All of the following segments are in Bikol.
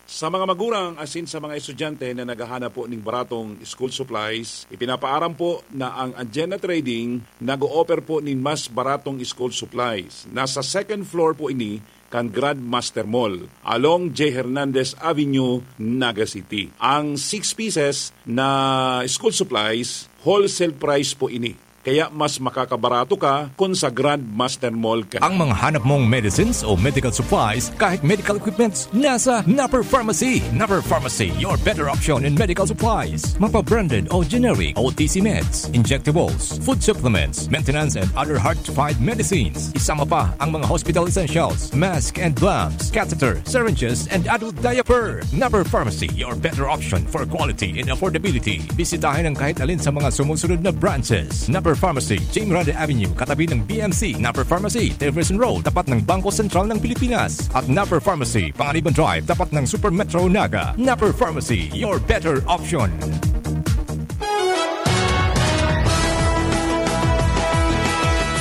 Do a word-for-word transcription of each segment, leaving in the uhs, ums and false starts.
Sa mga magurang asin sa mga estudyante na naghahanap po ning baratong school supplies, ipinapaaram po na ang Anjena Trading nag-o-offer po nin mas baratong school supplies. Nasa second floor po ini kan Grandmaster Mall, along J Hernandez Avenue, Naga City. Ang six pieces na school supplies, wholesale price po ini. Kaya mas makakabarato ka kun sa Grandmaster Mall ka. Ang mga hanap mong medicines o medical supplies, kahit medical equipments, nasa Napper Pharmacy. Napper Pharmacy, your better option in medical supplies. Mapa-branded o generic, O T C meds, injectables, food supplements, maintenance and other hard-to-find medicines. Isama pa ang mga hospital essentials, mask and gloves, catheter, syringes, and adult diaper. Napper Pharmacy, your better option for quality and affordability. Bisitahin ang kahit alin sa mga sumusunod na branches: Napper Pharmacy, Jing Grande Avenue, katabi ng B M C, Napper Pharmacy, Jefferson Road, tapat ng Bangko Sentral ng Pilipinas, at Napper Pharmacy, Panganiban Drive, tapat ng Super Metro Naga. Napper Pharmacy, your better option.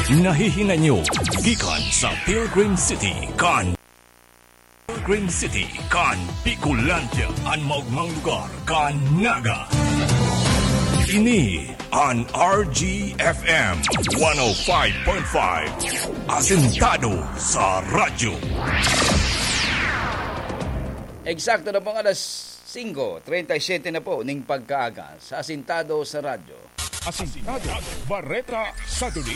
Nahihinay nyo gikan sa Pilgrim City, kan Green City, kan Bicolandia, an maogmang lugar kan Naga. Ini an R G F M one oh five point five, asentado sa radyo. Eksakto na pong alas singko treinta y siete na po ning pagkaaga sa Asentado sa Radyo. Asentado, Bareta sa Duli.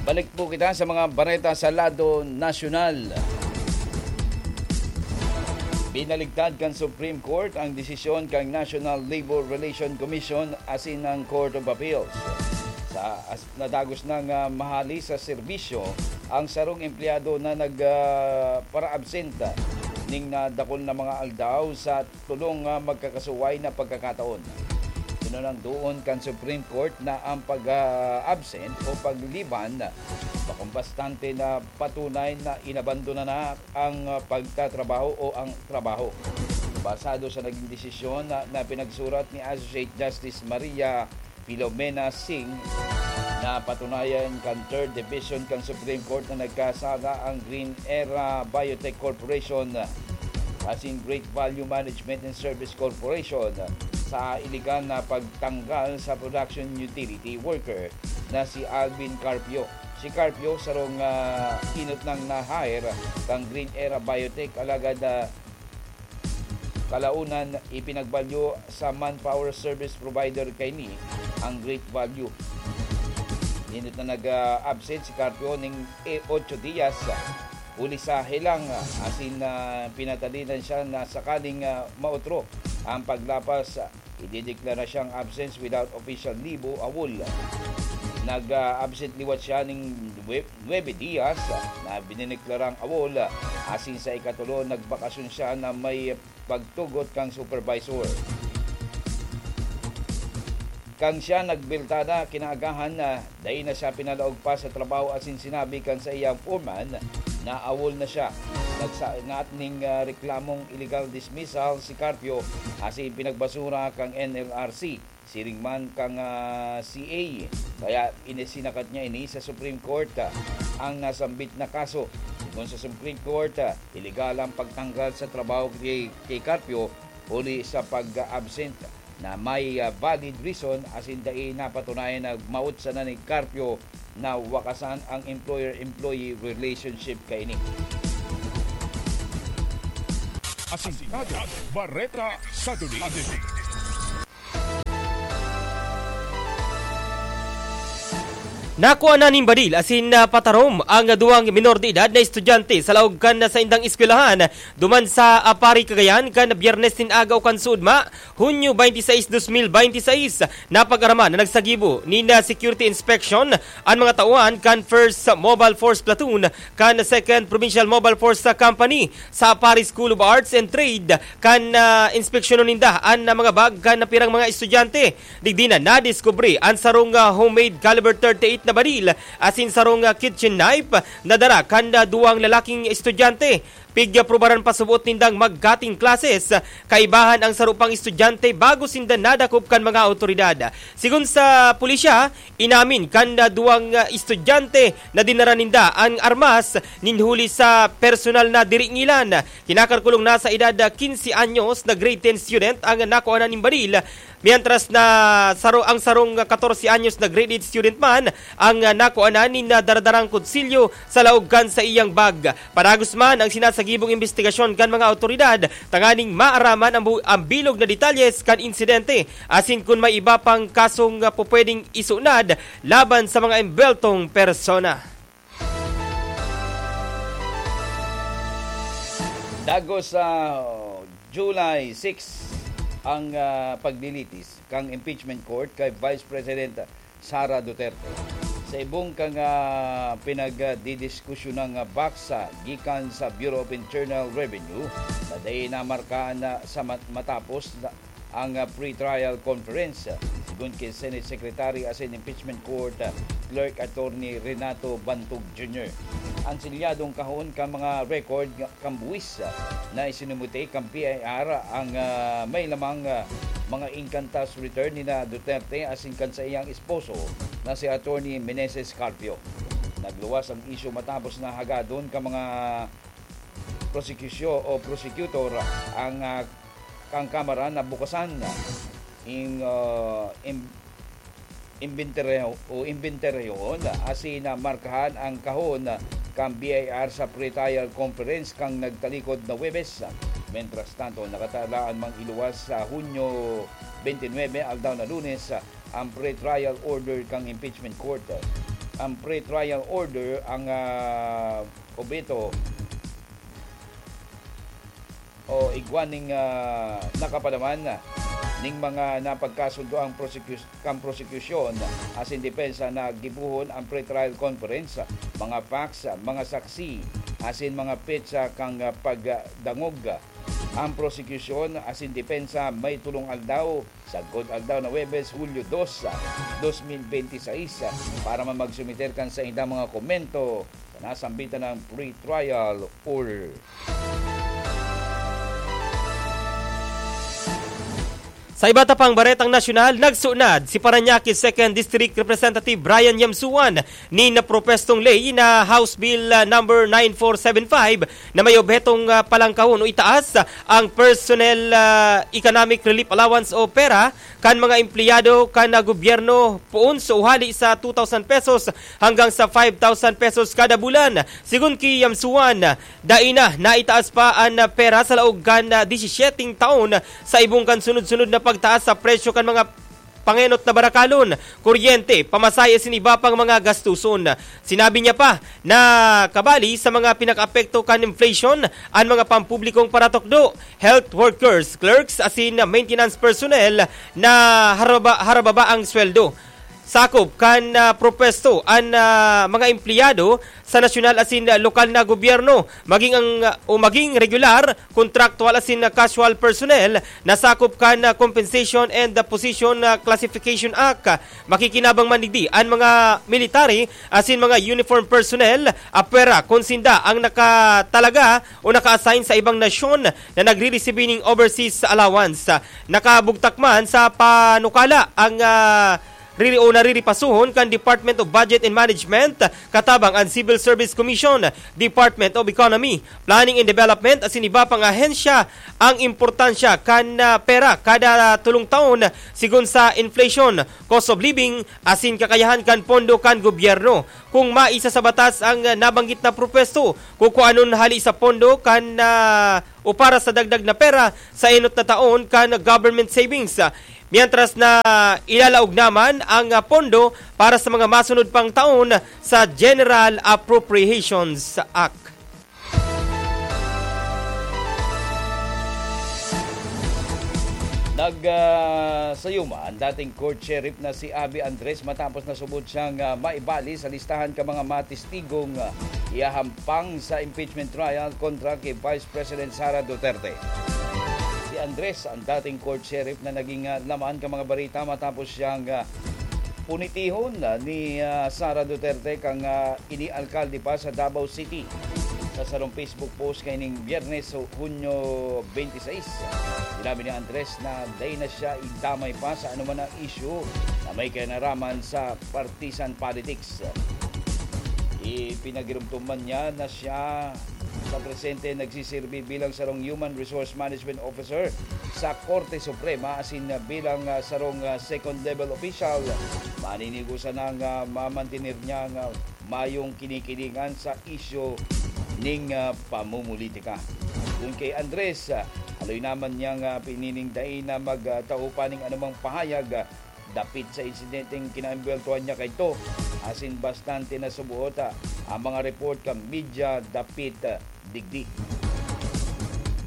Balik po kita sa mga bareta sa lado nasyonal. Binaligtad kan Supreme Court ang desisyon kan National Labor Relation Commission asin ang Court of Appeals. Sa as-, nadagos nang, ah, mahali sa serbisyo ang sarong empleyado na nag, ah, para-absent, ah, ning nadakul na mga aldaw sa tolong, ah, magkakasuway na pagkakataon. Sinunandoon kan Supreme Court na ang pag, ah, absent o pag-leave-an bakong bastante na patunay na inabandona na ang, ah, pagtatrabaho o ang trabaho. Basado sa naging desisyon na, na pinagsurat ni Associate Justice Maria Filomena Singh, napatunayan kan Third Division kan Supreme Court na nagkasala ang Green Era Biotech Corporation asin Great Value Management and Service Corporation sa iligal na pagtanggal sa production utility worker na si Alvin Carpio. Si Carpio, sarong, ah, inot nang na-hire kan Green Era Biotech, alagad, ah, kalaunan, ipinagbalyo sa manpower service provider kaini ang Great Value. Inot na nag, ah, absent si Carpio ning, eh, otso diyas, ah, huli sa helang, ah, asin, ah, pinatalinan siya na sakaling, ah, maotro ang paglapas, ah, idedeklara siyang absence without official leave o awol. Nag, ah, absent liwat siya ning nwe-, nuebe diyas, ah, na dineklarang awol, ah, asin sa ikatulo, nagbakasyon siya na may pagtugot kan supervisor. Kan siya nagbelta na kinaagahan na dai na siya pinalaog pa sa trabaho asin sinabi kan saiyang foreman na awol na siya. Nagsaingat ning, ah, reklamong illegal dismissal si Carpio asin pinagbasura kan N L R C, siring man kan, ah, C A. Kaya inisinakat niya ini sa Supreme Court, ah, ang nasambit na kaso. Sigon sa Supreme Court, ah, iligal ang pagtanggal sa trabaho kay, kay Carpio huli sa pag-absent na may, ah, valid reason asin dai napatunayan na maot sana ni Carpio na wakasan ang employer-employee relationship kaini. Asintado, Bareta sa Duli. Nakua na nin badil asin, ah, patarom ang duwang minor de edad na estudyante sa laog kan saindang eskwelahan duman sa, ah, Pari, Cagayan kan Biyernes nin aga o kan suodma, Hunyo twenty-six, dos mil bente seis. Napag-araman na nagsagibo nin, ah, security inspection an mga tawan kan First Mobile Force Platoon kan Second Provincial Mobile Force Company sa Pari School of Arts and Trade kan, ah, inspeksyonon ninda an, ah, mga bag kan napirang mga estudyante. Digdi na nadiskubre an sarong, ah, homemade caliber thirty-eight na baril asin sarong, ah, kitchen knife na dara kan, ah, duwang lalaking estudyante. Pigya prubaran pa subot nindang mag-cutting classes, kaibahan ang saro pang estudyante bago sinda nadakop kan mga awtoridad. Sigon sa pulisya, inamin kan duwang estudyante na dinara ninda an armas nin huli sa personal na diringilan. Kinakalkulong nasa edad kinse anyos na grade ten student ang nakuanan nin baril, mientras na saro, ang sarong katorse anyos na grade eight student man ang nakuanan nin daradarang kutsilyo sa laog kan saiyang bag. Padagos man ang sinasagibong imbestigasyon kan mga awtoridad tanganing maaraman ang bu-, ang bilog na detalyes kan insidente asin kun may iba pang kasong pupwedeng isunad laban sa mga embweltong persona. Dagos sa July six ang, ah, paglilitis kan impeachment court kay Vice President Sara Duterte. Sa ibong kan, ah, pinagdidiskusyonang, ah, box, ah, gikan sa Bureau of Internal Revenue na dai namarkahan na sa mat-, matapos na ang, ah, pre-trial conference, ah, sigon ki Senate Secretary asin Impeachment Court, ah, Clerk Attorney Renato Bantog Junior. Ang silyadong kahon kan mga record nga kan buwis, ah, na isinumite kan B I R ang, ah, may lamang, ah, mga income tax return ni na Duterte asin kan saiyang esposo na si Attorney Meneses Carpio. Nagluwas ang isyu matapos na hagadon kan mga prosekusyon o prosecutor ang, ah, kan Kamara na bukasan in, ah, in, inventaryo o inventaryohon asin na markahan ang kahon kan B I R sa pre-trial conference kan nagtalikod na Huwebes. Mientras tanto, nakatalaan mang iluwas sa Hunyo twenty-nine, aldaw na Lunes, ang pre-trial order kan impeachment court. Ang pre-trial order ang, ah, obheto o igwa ning, ah, nakapadaman ning mga napagkasundo ang prosekus-, kan prosekusyon asin depensa na gibohon ang pre-trial conference, mga facts, mga saksi, asin mga petsa kan, ah, pagdangog. Ang prosekusyon asin depensa may tolong aldaw, sagkod aldaw na Huwebes, Hulyo dos, dos mil benti sais, para man magsumiter kan saindang mga komento sa nasambitan na pre-trial order. Sa iba ta pang baretang nasyonal, nagsunad si Parañaque Second District Representative Brian Yamsuan nin propwestong ley na House Bill, ah, number nine four seven five na may obhetong, ah, palangkahon o itaas ang Personnel, ah, Economic Relief Allowance o pera kan mga empleyado kan, ah, gobyerno poon sa hali sa two thousand pesos hanggang sa five thousand pesos kada bulan. Sigon ki Yamsuan, dai na naitaas pa an, ah, pera sa laog kan, ah, disisyeting taon sa ibong kan sunod-sunod na pagtaas sa presyo kan mga pangenot na barakalon, kuryente, pamasahe asin iba pang mga gastuson. Sinabi niya pa na kabali sa mga pinakaapekto kan inflation an mga pampublikong paratukdo, health workers, clerks asin maintenance personnel na haraba-, harababa ang sweldo. Sakop kan, ah, propwesto an, ah, mga empleyado sa nasyonal asin lokal na gobyerno, maging ang, ah, o maging regular, kontraktual asin casual personnel na sakop kan, ah, Compensation and, ah, Position, ah, Classification Act. Makikinabang man digdi an mga military asin mga uniform personnel, apwera kun sinda ang nakatalaga o naka-assign sa ibang nasyon na nagriresibi ning overseas allowance. Nakabugtak man sa panukala ang, ah, riri o nariripasohon kan Department of Budget and Management, katabang an Civil Service Commission, Department of Economy, Planning and Development asin iba pang ahensya. Ang importansya kan, ah, pera kada tulong taon sigon sa inflation, cost of living asin kakayahan kan pondo kan gobyerno. Kung maisa sa batas ang, ah, nabanggit na propwesto, kukuanon hali sa pondo kan, ah, o para sa dagdag na pera sa enot na taon kan government savings. Mientras na ilalaog naman ang, ah, pondo para sa mga masunod pang taon sa General Appropriations Act. Nag, ah, sayuma ang dating court sheriff na si Abby Andres matapos nasubod siyang, ah, maibali sa listahan kan mga matistigong, ah, ihahampang sa impeachment trial kontra ki Vice President Sara Duterte. Si Andres, ang dating court sheriff na naging, ah, laman kan mga bareta matapos siyang, ah, punitihon, ah, ni, ah, Sara Duterte kan, ah, ini alkalde pa sa Davao City. Sa sarong Facebook post kaining Biyernes, Hunyo twenty-six, sinabi ni Andres na dai na siya idamay pa sa anuman na isyu na may kinaraman sa partisan politics. Ipinagirumtuman niya na siya sa presente nagsisirbi bilang sarong Human Resource Management Officer sa Korte Suprema asin bilang, ah, sarong, ah, second level official. Maninigo sanang, ah, mamantener niya ang, ah, mayong kinikilingan sa isyu ning, ah, pamumulitika. Kun kay Andres, ah, haloy naman niyang, ah, pinining dai na magtao pa ning anumang pahayag, ah, dapit sa insidenteng kinaembweltohan niya kaidto, asin bastante na subuot, ah, ang mga report kan media dapit, ah, digdi.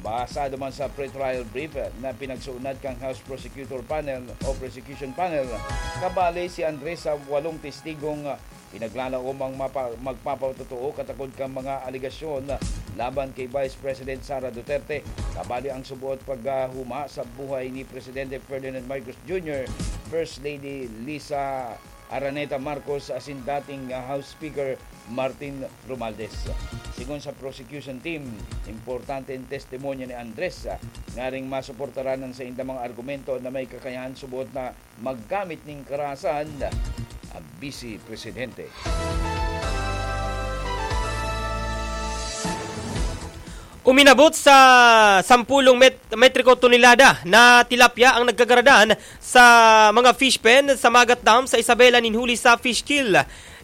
Basado man sa pre-trial brief, ah, na pinagsuunad kan House Prosecutor Panel o Prosecution Panel, kabali si Andres sa walong testigong, ah, pinaglalaom ang mapa-, magpapatotoo katakod kan mga alegasyon laban kay Vice President Sara Duterte, kabali ang subuot paghahuma sa buhay ni Presidente Ferdinand Marcos Junior, First Lady Liza Araneta Marcos asin dating, ah, House Speaker Martin Romualdez. Sigon sa prosecution team, importante ang testimonya ni Andres, ah, ngaring masuportaran ang saindang mga argumento na may kakayahan subuot na maggamit nin karahasan ang Vice Presidente. Uminabot sa sampulong met-, metriko tonelada na tilapia ang nagkagaradan sa mga fish pen sa Magat Dam sa Isabela nin huli sa fish kill.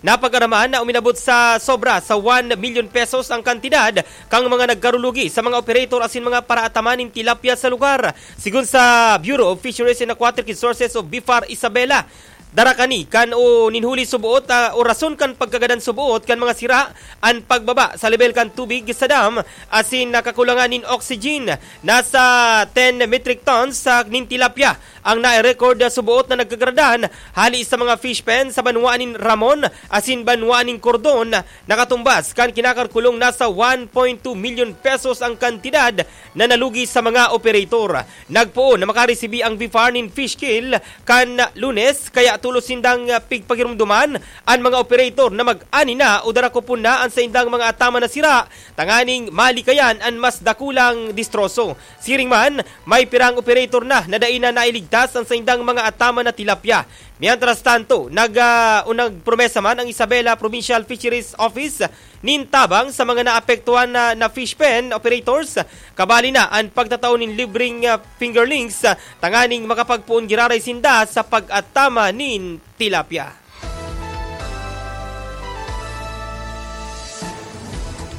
Napag-araman na uminabot sa sobra sa one million pesos ang kantidad kan mga nagkarulugi sa mga operator asin mga paraataman nin tilapia sa lugar. Sigon sa Bureau of Fisheries and Aquatic Resources o BFAR Isabela, dara kani kan o nin huli suboot, ah, o rason kan pagkagadan suboot kan mga sira an pagbaba sa lebel kan tubig sa dam asin nakakulangan nin oxygen. Nasa ten metric tons sa nin tilapia ang nai-record na suboot na nagkagaradan hali sa mga fish pen sa banwaan nin Ramon asin banwaan nin Cordon. Nakatumbas kan kinakalkulong nasa one point two million pesos ang kantidad na nalugi sa mga operator. Nagpoon na makaresibi ang BFAR nin fish kill kan Lunes, kaya tolos sindang, ah, pigpagirumdoman an mga operator na mag-ani na o darakupon na an saindang mga ataman na sira, tanganing malikayan an mas dakulang distroso. Siring man, may pirang operator na na dai na nailigtas an saindang mga ataman na tilapia. Mientras tanto, nag, ah, o nagpromesa man ang Isabela Provincial Fisheries Office nin tabang sa mga naapektuhan na, na fish pen operators, kabali na an pagtatao nin libreng, ah, fingerlings, ah, tanganing makapagpoon giraray sinda sa pag-atama nin tilapia.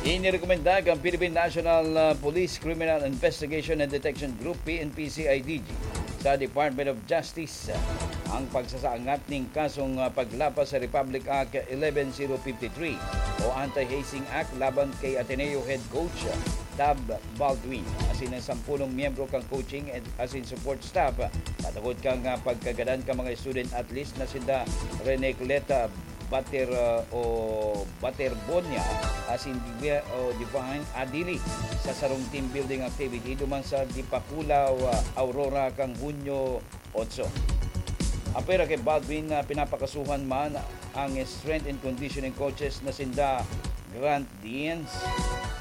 Inirekomenda kan Philippine National, ah, Police Criminal Investigation and Detection Group, P N P C I D G, sa Department of Justice ang pagsasaangat nin kasong, ah, paglapas sa Republic Act eleven zero fifty-three o Anti-Hazing Act laban kay Ateneo Head Coach Tab Baldwin asin ang sampulong miyembro kan coaching and asin support staff, patungod kan, ah, pagkagadan kan mga student athletes na sinda Renecleta Bater, ah, o Baterbonia asin Divi-, o Divine Adili sa sarong team building activity duman sa Dipakulaw, ah, Aurora kan Hunyo otso. Apwera kay Baldwin na pinapakasuhan man ang strength and conditioning coaches na sinda Grant Dienz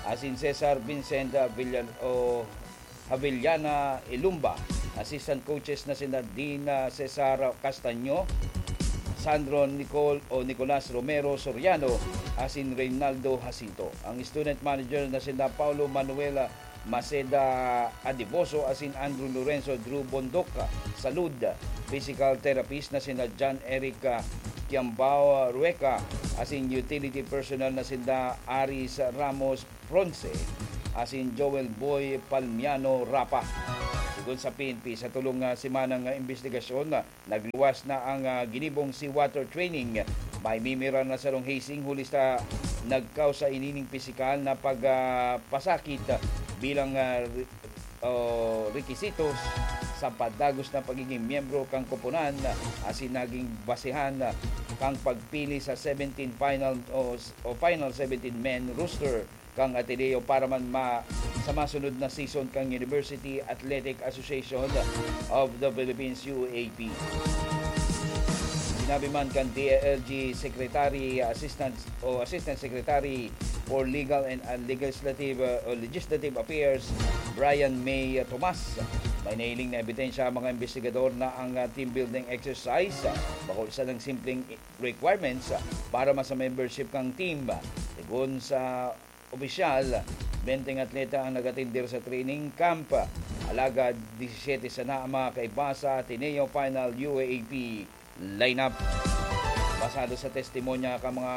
asin Cesar Vincent, ah, Villan-, o Javellana Ilumba, assistant coaches na sinda Dean, ah, Cesar Castaño, Sandro Nicol o Nicolas Romero Soriano, asin Reynaldo Jacinto. Ang student manager na sinda Paulo Manuel, ah, Maceda Adiboso asin Andrew Lorenzo Drew Bondoc, ah, Salud. Physical therapist na sinda John Eric, ah, Kiambao Rueca, asin utility personnel na sinda Aris Ramos Bronce asin Joel Boy Palmiano Rapa. Sigon sa P N P, sa tolong, ah, semanang, ah, imbestigasyon, ah, nagluwas na ang, ah, ginibong seawater training. May mimira na sarong hazing huli sa nagkausa inining pisikal na pag, ah, pasakit, ah, bilang, ah, re-, oh, rekisitos sa padagos na pagiging miyembro kan koponan, ah, asin naging basehan, ah, kan pagpili sa seventeen final o, o final seventeen men roster kan Ateneo para man ma-, sa masunod na season kan University Athletic Association of the Philippines, U A P. Sinabi man kan D A L G Secretary, Assistant o Assistant Secretary for Legal and, uh, Legislative, uh, o Legislative Affairs, Brian May Tomas. May nahiling na ebidensya ang mga investigador na ang, uh, team building exercise, uh, bako sanang simpleng requirements, uh, para masa membership kang team. Segun sa opisyal, benteng atleta ang nag-atender sa training camp, alagad disisete sana ang mga kaiba sa Ateneo Final U A A P lineup. Basado sa testimonya kan mga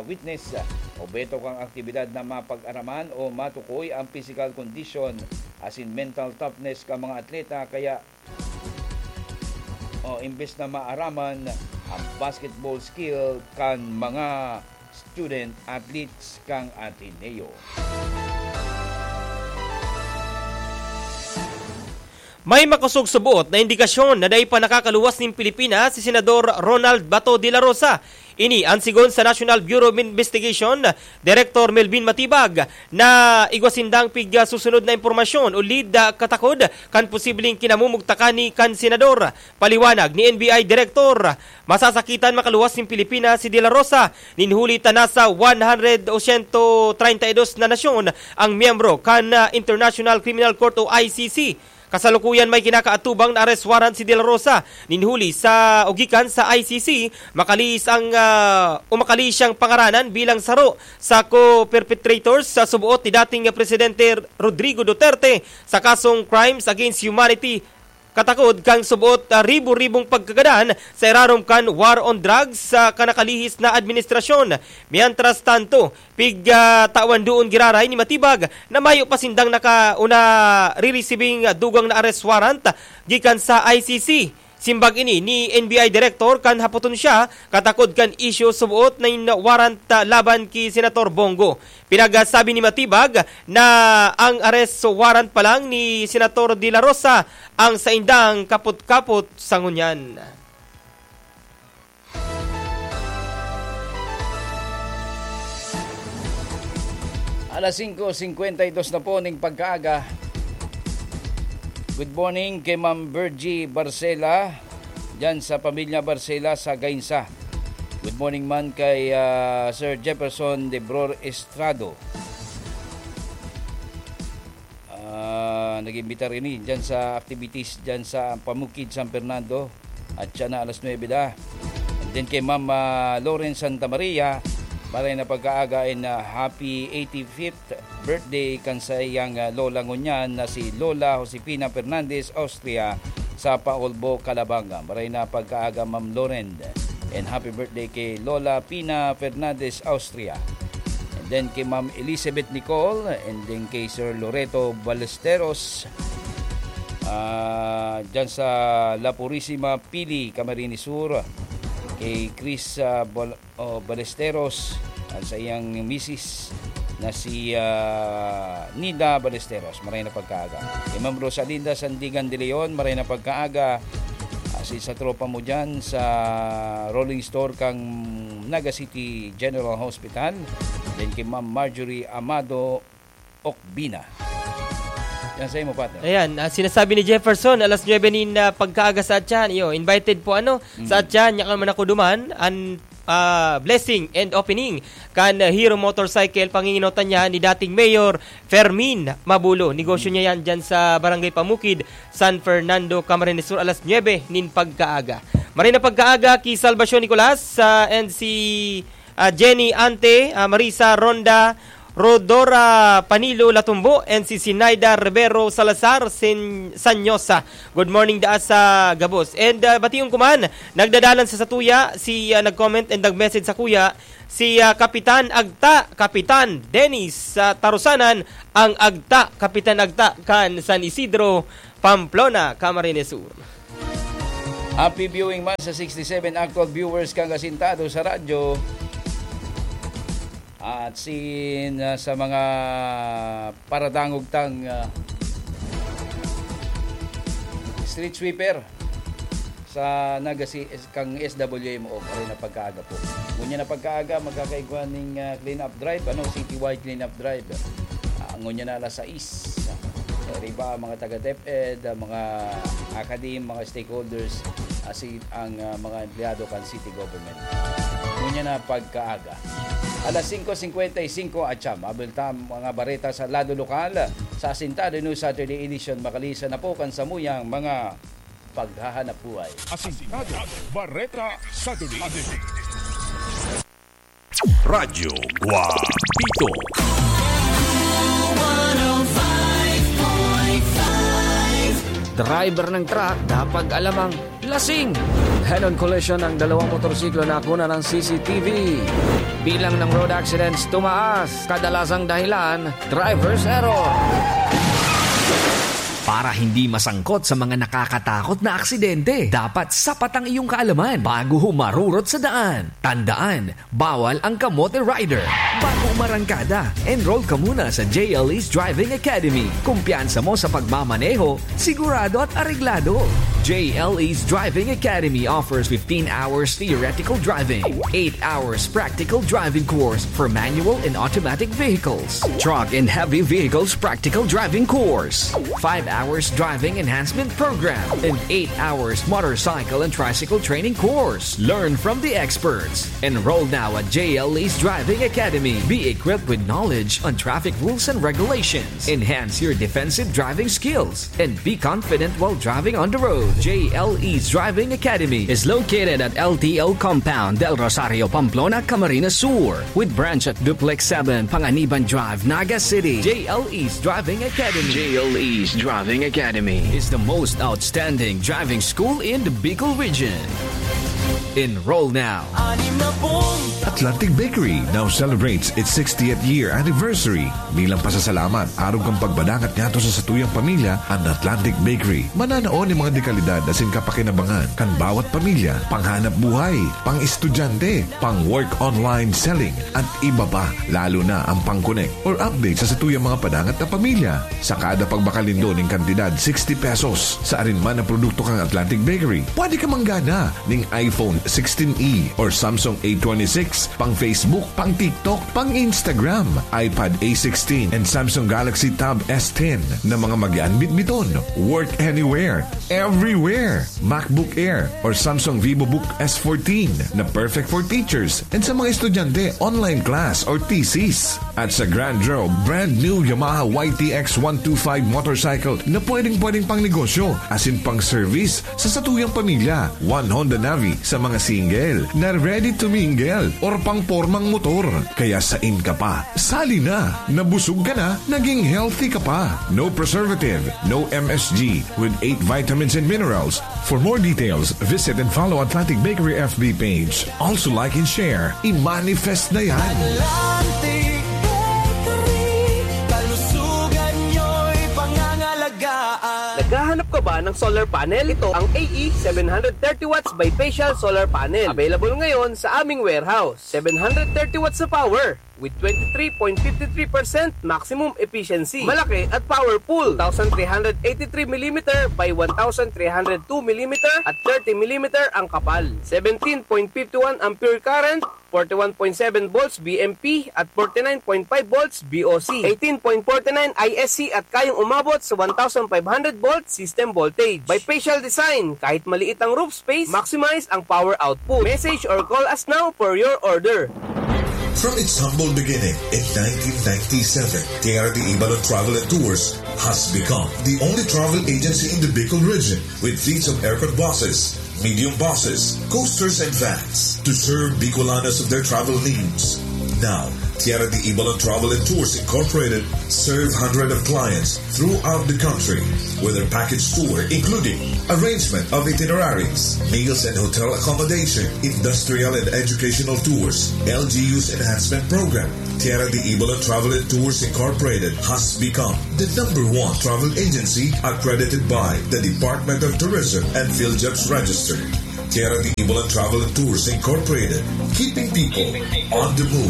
witness, obeto kan aktibidad na mapag-araman o matukoy ang physical condition asin mental toughness kan mga atleta, kaya, o, imbes na maaraman ang basketball skill kan mga student athletes kan Ateneo. May makosog suboot na indikasyon na dai pa nakakaluwas nin Pilipinas si Senador Ronald Bato de la Rosa. Ini an sigon sa National Bureau of Investigation Director Melvin Matibag na igwa sindang pig-, ah, susunod na impormasyon o lead, ah, katakod kan posibleng kinamumugtakan ni kan senador. Paliwanag ni N B I Director, masasakitan makaluwas nin Pilipinas si De La Rosa nin huli ta nasa one hundred o siyento treinta y dos na nasyon ang miyembro kan, ah, International Criminal Court o I C C. Kasalukuyan may kinakaatubang na arrest warrant si De La Rosa nin huli sa o gikan sa I C C, makalihis ang, ah, o makalihis siyang pangaranan bilang saro sa co-perpetrators sa suboot ni dating Presidente Rodrigo Duterte sa kasong crimes against humanity, katakod kan suboot, ah, ribo-ribong pagkagadan sa irarom kan war on drugs sa kan nakalihis na administrasyon. Mientras tanto, pig, ah, tawan doon giraray ni Matibag na mayo pa sindang naka-, o naririsibing dugang na arrest warrant gikan sa I C C. Simbag ini ni N B I Director kan hapoton siya katakod kan isyu suboot na in warrant, ah, laban ki Senator Bongo. Pinagsabi ni Matibag na ang arrest warrant pa lang ni Senator De La Rosa ang saindang kapot-kapot sa ngunyan. Alas singko singkwenta y dos na po ning pagkaaga. Good morning kay Ma'am Virgie Barcela, dyan sa pamilya Barcela sa Gainsa. Good morning man kay, ah, Sir Jefferson de Bror Estrado. Ah, nag-imbita rin, eh, dyan sa activities dyan sa Pamukid, San Fernando. At siya na alas nuebe da. And then kay Ma'am, ah, Lauren Santa Maria, maray na pagkaaga and, ah, happy eighty-fifth birthday kan saiyang, ah, lola ngunyan na si Lola Josefina Fernandez Austria sa Paulbo, Calabanga. Maray na pagkaaga, Ma'am Lauren. And happy birthday kay Lola Pina Fernandez Austria. And then kay Ma'am Elizabeth Nicole, and then kay Sir Loreto Ballesteros, ah, dyan sa La Purisima, Pili, Camarines Sur. Kay Chris, ah, Bal-, oh, Ballesteros, at sa iyang misis na si, ah, Nida Ballesteros. Maray na pagkaaga. Kay Ma'am Rosalinda Sandigan de Leon, maray na pagkaaga. Ah, si sa tropa mo dyan sa rolling store kang Naga City General Hospital. Then kay Ma'am Marjorie Amado Okbina. Yan sa imo, partner. Ayan, ah, sinasabi ni Jefferson, alas nuebe nin, ah, pagkaaga sa atyan. Iyo, invited po, ano, sa Mm. atyan, yakan man ako duman, an, ah, blessing and opening kan, ah, Hero Motorcycle, panginginotan niya ni dating Mayor Fermin Mabulo. Negosyo Mm. niya yan dyan sa Barangay Pamukid, San Fernando, Camarines Sur, alas nuebe nin pagkaaga. Maray na pagkaaga ki Salvacion Nicolas, ah, and si, ah, Jenny Ante, ah, Marisa Ronda, Rodora Panilo Latumbo, and si Sinaida Rivero Salazar Sen-, Sanyosa. Good morning daa sa gabos. And, ah, bation ko man, nagdadalan sa satuya, si, ah, nag-comment and nag-message sakuya, si, ah, Kapitan Agta, Kapitan Dennis, sa Tarusanan, ang Agta, Kapitan Agta, kan San Isidro, Pamplona, Camarines Sur. Happy viewing man sa sixty-seven actual viewers kang asintado sa radyo. At sin, ah, sa mga paradangog tang, ah, street sweeper sa Naga si-, kang S W M O, maray na pagkaaga po. Ngunyan na pagkaaga, magkakaigwa ning, ah, clean-up drive, ano, citywide clean-up drive. Ah, ngunyan na alas sais. Riba ang mga taga DepEd, ang mga academe, mga stakeholders, asi-, ang, ah, mga empleyado kan city government. Ngunyan na pagkaaga. Alas singko singkwenta y singko atyan, maabot ta mga bareta sa lado lokal sa Asintado News Saturday Edition. Makalisan na po kan samuyang mga paghahanap buhay. Asintado, Bareta Saturday. Radyo Guapito. Driver ng truck, dapat alamang lasing. Head-on collision ng dalawang motorsiklo na nakuna ng C C T V. Bilang ng road accidents tumaas. Kadalasang dahilan, driver's error. Para hindi masangkot sa mga nakakatakot na aksidente, dapat sapat ang iyong kaalaman bago humarurot sa daan. Tandaan, bawal ang kamote rider. Bago umarangkada, enroll ka muna sa J L E's Driving Academy. Kumpiyansa mo sa pagmamaneho, sigurado at areglado. J L E's Driving Academy offers fifteen hours theoretical driving, eight hours practical driving course for manual and automatic vehicles, truck and heavy vehicles practical driving course, five hours driving enhancement program, and eight hours motorcycle and tricycle training course. Learn from the experts. Enroll now at J L E's Driving Academy. Be equipped with knowledge on traffic rules and regulations. Enhance your defensive driving skills and be confident while driving on the road. J L E's Driving Academy is located at L T O Compound, Del Rosario, Pamplona, Camarines Sur, with branch at Duplex seven, Panganiban Drive, Naga City. J L E's Driving Academy. J L E's Driving Academy is the most outstanding driving school in the Bicol region. Enroll now. Atlantic Bakery now celebrates its sixtieth year anniversary. Bilang pasasalamat, arog kan pagbadangat ngadto sa satuyang pamilya, an Atlantic Bakery mananao nin mga dekalidad asin kapakinabangan kan bawat pamilya, panghanap buhay, pang-estudyante, pang-work online selling, at iba pa, lalo na ang pang-connect or update sa satuyang mga padangat na pamilya. Sa kada pagbakalindol nin kantidad sixty pesos sa arin man na produkto kan Atlantic Bakery, pwede ka manggana nin iPhone sixteen E or Samsung A twenty-six, pang Facebook, pang TikTok, pang Instagram, iPad A sixteen, and Samsung Galaxy Tab S ten na mga mag-aanbit-biton. Work anywhere, everywhere. MacBook Air or Samsung VivoBook S fourteen na perfect for teachers and sa mga estudyante, online class or thesis. At sa Grand Draw, brand new Yamaha Y T X one two five motorcycle na pwedeng-pwedeng pang negosyo asin pang service sa satuyang pamilya. One Honda Navi sa mga single na ready to mingle or pang pormang motor. Kaya sain ka pa? Sali na! Nabusog ka na, naging healthy ka pa. No preservative, no M S G, with eight vitamins and minerals. For more details, visit and follow Atlantic Bakery F B page. Also like and share. I-manifest na yan. Atlantic Bakery, kalusugan nyo'y pangangalagaan. Naghahanap ka ba ng solar panel? Ito ang A E seven hundred thirty watts bifacial solar panel. Available ngayon sa aming warehouse. Seven hundred thirty watts na power with twenty-three point five three percent maximum efficiency. Malaki at powerful. Two thousand three hundred eighty-three millimeter by one thousand three hundred two millimeter at thirty millimeter ang kapal. Seventeen point five one ampere current, forty-one point seven volts V M P at forty-nine point five volts V O C. Eighteen point forty-nine I S C at kayang umabot sa one thousand five hundred volt system voltage. Bifacial design, kahit maliit ang roof space, maximize ang power output. Message or call us now for your order. From its humble beginning in nineteen ninety-seven, Tierra de Ibalon Travel and Tours has become the only travel agency in the Bicol region with fleets of aircon buses, medium buses, coasters, and vans to serve Bicolanos of their travel needs. Now, Tierra de Ibalon Travel and Tours Incorporated serve hundreds of clients throughout the country with their package tour, including arrangement of itineraries, meals and hotel accommodation, industrial and educational tours, L G U's enhancement program. Tierra de Ibalon Travel and Tours Incorporated has become the number one travel agency accredited by the Department of Tourism and PhilJobs Register. Tierra de Ibalon Travel and Tours Incorporated, keeping people on the move.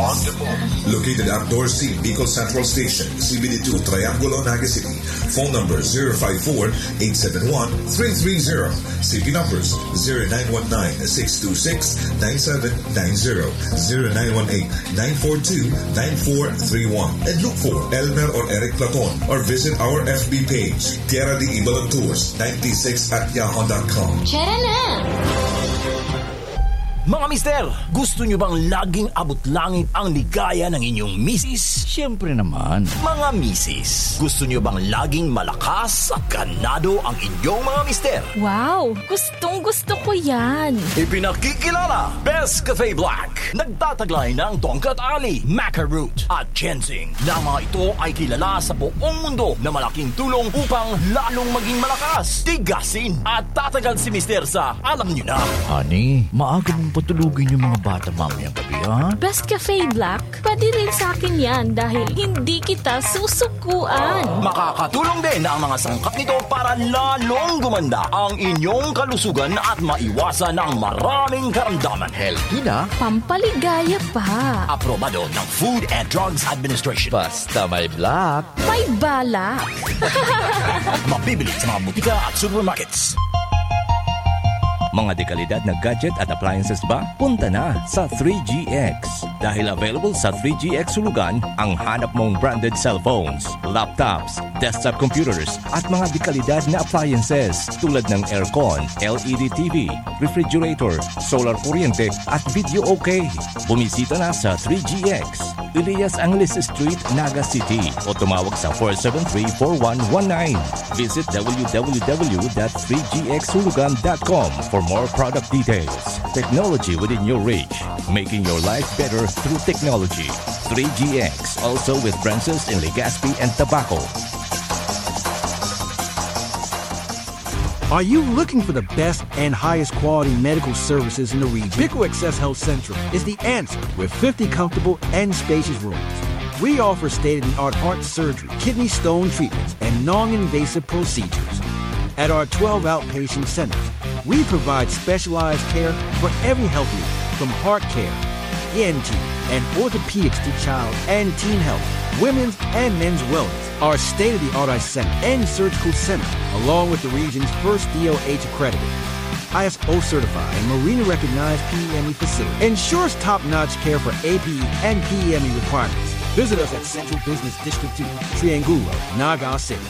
Located at Door C, Bicol Central Station, C B D two, Triangulo, Naga City. Phone number zero five four, eight seven one, three three zero. C P numbers zero nine one nine, six two six, nine seven nine zero, zero nine one eight, nine four two, nine four three one. And look for Elmer or Eric Platon or visit our F B page, Tierra de Ibalon Tours ninety-six at yahoo dot com. Tara na! Mga mister, gusto nyo bang laging abot langit ang ligaya ng inyong misis? Siyempre naman. Mga misis, gusto nyo bang laging malakas at ganado ang inyong mga mister? Wow! Gustong gusto ko yan! Ipinakikilala, Best Cafe Black. Nagtataglay ng tongkat ali, maca root, at ginseng, na mga ito ay kilala sa buong mundo na malaking tulong upang lalong maging malakas, tigasin, at tatagal si mister sa alam nyo na. Honey, maaga mong patulugin yung mga bata mamayang gabi, ha? Best Cafe Black, pwede rin sa akin yan dahil hindi kita susukuan. Makakatulong din ang mga sangkap nito para lalong gumanda ang inyong kalusugan at maiwasan ang maraming karamdaman. Healthy na, Pampaligaya pa. Aprobado ng Food and Drugs Administration. Basta may black. May balak. Mabibili sa mga butika at supermarkets. Mga dekalidad na gadget at appliances ba? Punta na sa three G X. Dahil available sa three G X Hulugan ang hanap mong branded cellphones, laptops, desktop computers, at mga dekalidad na appliances tulad ng aircon, L E D T V, refrigerator, solar kuryente, at video okay. Bumisita na sa three G X, Elias Angeles Street, Naga City, o tumawag sa four seven three, four one one nine. Visit w w w dot three g x hulugan dot com for more product details. Technology within your reach, making your life better through technology. Three G X, also with branches in Legazpi and Tabaco. Are you looking for the best and highest quality medical services in the region? Pico Access Health Central is the answer with fifty comfortable and spacious rooms. We offer state of the art heart surgery, kidney stone treatments, and non invasive procedures. At our twelve outpatient centers, we provide specialized care for every health need, from heart care, E N T, and orthopedics to child and teen health, women's and men's wellness. Our state of the art eye center and surgical center, along with the region's first D O H accredited, I S O certified, and Marina recognized P E M E facility, ensures top notch care for A P E and P E M E requirements. Visit us at Central Business District two, Triangulo, Naga City.